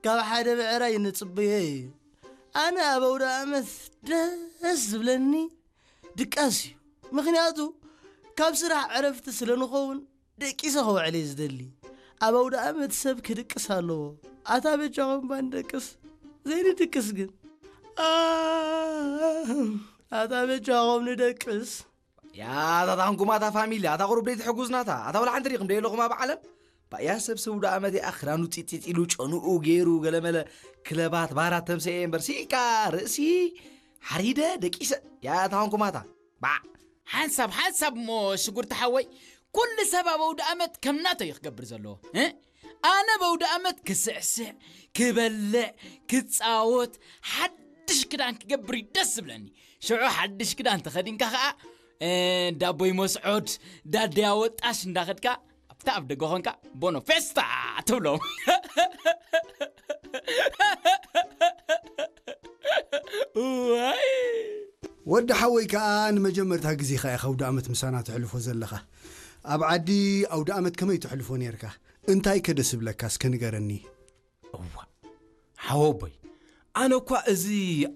ካብ ሓደ ብዕራይ ንጽበዮ እዩ። ኣነ ኣብ ኣውደ ኣመት ደስ ዝብለኒ ድቃስ እዩ። ምኽንያቱ ካብ ስራሕ ዕረፍቲ ስለ ንኸውን ደቂሰ ከውዕል እየ ዝደሊ። ኣብ ኣውደ ኣመት ሰብ ክድቅስ ኣለዎ። ኣታ በጃኹም ባንደቅስ ዘይንድቅስ ግን? ኣ፣ ኣታ በጃኹም ንደቅስ። ያ፣ ኣታ ታንኩማታ ፋሚሊ፣ ኣታ ቁሩብ ደይ ትሕጉዝናታ። ኣታ ወላ ሓንቲ ሪኹም ደይ ኣለኹም ኣብ ዓለም? ባያ ሰብ ሰብ ኣውደ ኣመት እያ ክዳኑ ፂፂፅ ኢሉ ጨንኡ ገይሩ ገለመለ ክለባት ባራት ተምሰየ እምበር ሲካ ርእሲ ሓሪደ ደቂሰ። ያ፣ ኣታ ታንኩማታ። ባዕ። ሓንሳብ ሓንሳብ እሞ ሽጉርቲ ሓወይ፣ ኩሉ ሰብ ኣብ ኣውደ ኣመት ከም ናቶ እዩ ክገብር ዘለዎ። እ? ኣነ ኣብ ኣውደ ኣመት ክስዕስዕ፣ ክበልዕ፣ ክጻወት፣ ሓድሽ ክዳን ክገብር እዩ ደስ ዝብለኒ። ሽዑ ሓድሽ ክዳን ተኸዲንካ ኸኣ፣ እ፣ ዳቦይ መስዖድ፣ ዳደያ ወጣሽ እንዳኸድካ፣ ኣብታ ኣብ ደገ ኾንካ፣ ቦኖ ፌስታ ትብሎም። ዋይ! ወዲ ሓወይ ከኣ ንመጀመርታ ግዜኻ ኢኻ ኣውደ ኣመት ምሳና ተሕልፎ ዘለኻ። ኣብ ዓዲ ኣውደ ኣመት ከመይ ተሕልፎ ነይርካ? እንታይ ከ ደስ ይብለካ እስከ ንገረኒ። እዋ፣ ሓወቦይ፣ ኣነ እኳ እዚ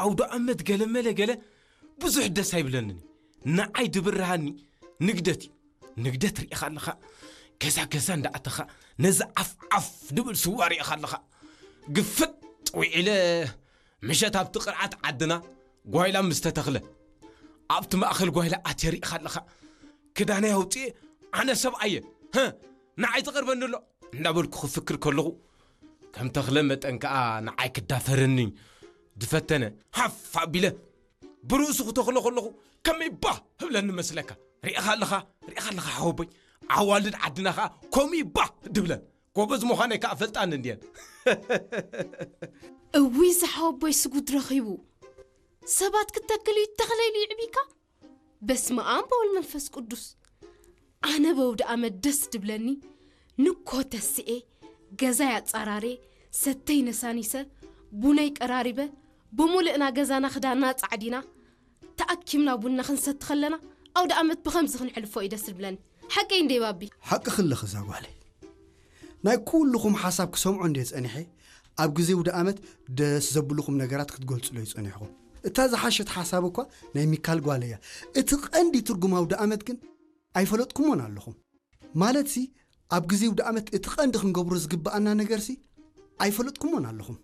ኣውደ ኣመት ገለ መለ ገለ ብዙሕ ደስ ኣይብለንን። ንዓይ ድብርሃኒ ንግደት እዩ። ንግደት ርኢኻ ኣለኻ፣ ገዛ ገዛ እንዳኣተኻ ነዚ ዓፍ ዓፍ ድብል ስዋ ርኢኻ ኣለኻ። ግፍጥ ውዒለ ምሸት ኣብቲ ቅርዓት ዓድና ጓይላ ምስ ተተኽለ፣ ኣብቲ ማእከል ጓይላ ኣትየ ርኢኻ ኣለኻ። ክዳነይ ኣውፅኤ፣ ኣነ ሰብኣየ፣ ህ፣ ንዓይ ዝቐርበኒ ኣሎ እንዳበልኩ ክፍክር ከለኹ፣ ከም ተኽለ መጠን ከኣ ንዓይ ክዳፈረኒ ዝፈተነ፣ ሃፍ ኣቢለ ብርእሱ ክተኽሎ ከለኹ ከመይ ባህ ህብለኒ መስለካ? ርኢኻ ኣለኻ፣ ርኢኻ ኣለኻ ሓወቦይ፣ ኣዋልድ ዓድና ከኣ ከምኡ እዩ ባህ ድብለን። ጎበዝ ምዃነይ ከኣ ፈልጣኒ እንድየን። እውይ፣ እዚ ሓወቦይ ስጉድ ረኺቡ። ሰባት ክተክል እዩ ተኽለ ኢሉ ይዕቢካ? በስመ ኣብ ወወልድ መንፈስ ቅዱስ። ኣነ በውደ ኣመት ደስ ድብለኒ፣ ንኮ ተስኤ፣ ገዛይ ኣጻራሬ፣ ሰተይ ነሳኒሰ፣ ቡነይ ቀራሪበ፣ ብምሉእና ገዛና ክዳንና ጻዕዲና፣ ተኣኪብና ቡና ክንሰቲ ከለና፣ ኣውደ ኣመት ብኸምዚ ክንሕልፎ እዩ ደስ ድብለኒ። ሓቀይ እንዴ ባቢ? ሓቅኺ ኣለኺ እዛ ጓለይ። ናይ ኩልኹም ሓሳብ ክሰምዖ እንዴ ጸኒሐ፣ ኣብ ግዜ ኣውደ ኣመት ደስ ዘብልኹም ነገራት ክትገልጹለይ ጸኒሕኹም። እታ ዝሓሸት ሓሳብ እኳ ናይ ሚካል ጓል እያ። እቲ ቀንዲ ትርጉም ኣውደ ኣመት ግን ኣይፈለጥኩሞን ኣለኹም። ማለትሲ፣ ኣብ ግዜ ኣውደ ኣመት እቲ ቀንዲ ክንገብሮ ዝግብኣና ነገርሲ ኣይፈለጥኩሞን ኣለኹም።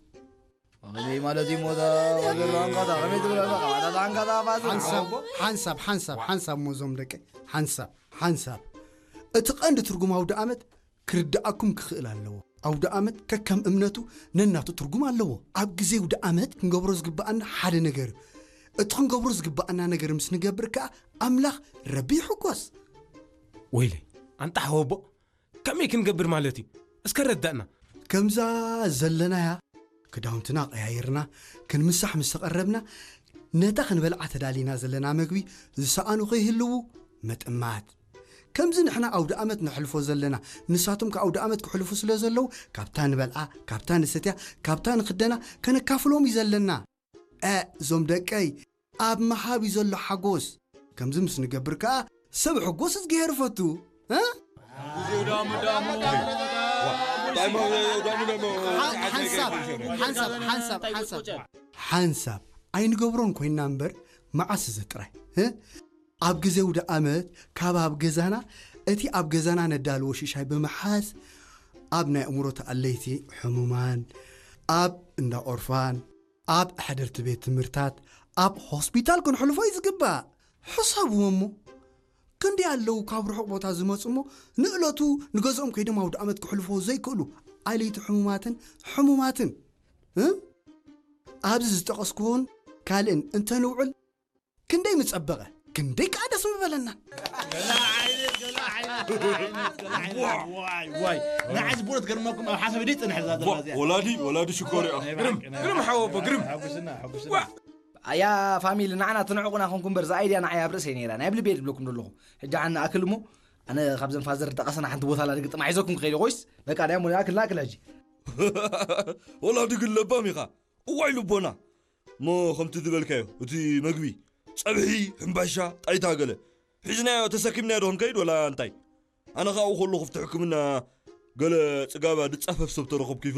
ከመይ ማለት እዩ ሞታ? ወገን ኣንካታ፣ ከመይ ትብል ኣለኻ? ኣታ ኣንካታ ፋዘር። ሓንሳብ፣ ሓንሳብ፣ ሓንሳብ፣ ሓንሳብ ሞዞም ደቀይ። ሓንሳብ፣ ሓንሳብ። እቲ ቀንዲ ትርጉም ኣውደ ኣመት ክርድኣኩም ክኽእል ኣለዎ። ኣውደ ኣመት ከከም እምነቱ ነናቱ ትርጉም ኣለዎ። ኣብ ግዜ ኣውደ ኣመት ክንገብሮ ዝግብኣና ሓደ ነገር እዩ። እቲ ክንገብሮ ዝግብኣና ነገር ምስ ንገብር ከኣ ኣምላኽ ረቢ ይሕጎስ። ወይለይ፣ ኣንታ ሓወቦ፣ ከመይ ክንገብር ማለት እዩ? እስከ ረዳእና። ከምዛ ዘለናያ ክዳውንትና ቀያይርና ክንምሳሕ ምስ ተቐረብና፣ ነታ ክንበልዓ ተዳሊና ዘለና መግቢ ዝሰኣኑ ከይህልዉ ምጥማት። ከምዚ ንሕና ኣውደ ኣመት ነሕልፎ ዘለና፣ ንሳቶም ከ ኣውደ ኣመት ክሕልፉ ስለ ዘለዉ፣ ካብታ ንበልዓ፣ ካብታ ንሰትያ፣ ካብታ ንኽደና ከነካፍሎም እዩ ዘለና። እ፣ እዞም ደቀይ፣ ኣብ ምሃብ እዩ ዘሎ ሓጎስ። ከምዚ ምስ ንገብር ከኣ፣ ሰብ ሕጎስ እግዚኣብሔር ፈቱ። እ? ሓ-፣ ሓንሳብ፣ ሓንሳብ፣ ሓንሳብ፣ ሓንሳብ፣ ሓንሳብ። ሓንሳብ ኣይንገብሮን ኮይንና እምበር፣ መዓስ እዚ ጥራይ፣ እ? ኣብ ግዜ ኣውደ ኣመት፣ ካብ ኣብ ገዛና፣ እቲ ኣብ ገዛና ነዳልዎ ሽሻይ ብምሓዝ፣ ኣብ ናይ ኣእምሮ ተኣለይቲ ሕሙማን፣ ኣብ እንዳ ኦርፋን፣ ኣብ ኣሕደርቲ ቤት ትምህርታት፣ ኣብ ሆስፒታል ክንሕልፎ እዩ ዝግባእ። ሕሰብዎ እሞ፣ ክንደይ ኣለዉ ካብ ርሑቕ ቦታ ዝመጹ እሞ፣ ንእለቱ ንገዝኦም ከይዶም ኣውደ ኣመት ክሕልፍዎ ዘይክእሉ ኣለይቲ ሕሙማትን ሕሙማትን። እ? ኣብዚ ዝጠቐስኩዎን ካልእን እንተንውዕል፣ ክንደይ ምጸበቐ፣ ክንደይ ከኣ ደስ ምበለና። ገለ ዓይነት፣ ገለ ዓይነት፣ ገለ ዓይነት። ዋይ፣ ዋይ። ንዓይ ዝቦነት ገርመኩም ኣብ ሓሳብ ደይ ጽንሕ እዛ ዘላ እዚኣ። ወላዲ፣ ወላዲ ሽኮር እያ። ናይ ግርም፣ ብሓቂ፣ ናይ ግርም ብሓቂ። ሓወቦ፣ ግርም። ሓጉስና፣ ሓጉስና። ዋ። ኣያ ፋሚሊ፣ ንዓና ትንዕቑና ኮንኩም በር፣ እዛ ኣይድያ ንዓይ ኣብ ርእሰይ ነይራ። ናይ ብልቤ ድብለኩም ዘለኹ። ሕጂ ዓና ኣክል እሞ፣ ኣነ ካብዘን ፋዘር ጠቐሰና ሓንቲ ቦታ ላድግጥማ ሒዘኩም ክኸይድ ኮይስ፣ በቃ፣ ናይ እሞ ኣክል፣ ኣክል ሕጂ። ወላዲ ግን ለባም ኢኻ። እዋይ ልቦና። እሞ ከምቲ ዝበልካዮ፣ እቲ መግቢ፣ ጸብሒ፣ ሕምባሻ፣ ጣይታ ገለ፣ ሒዝናዮ ተሰኪምናዮ ዶ ክንከይድ ወላ እንታይ? ኣነ ኸኣ ኣብኡ ከለኹ ኣብቲ ሕክምና ገለ ጽጋባ ድጻፈፍ ሰብ ተረኸብኩ ይፍለ-፣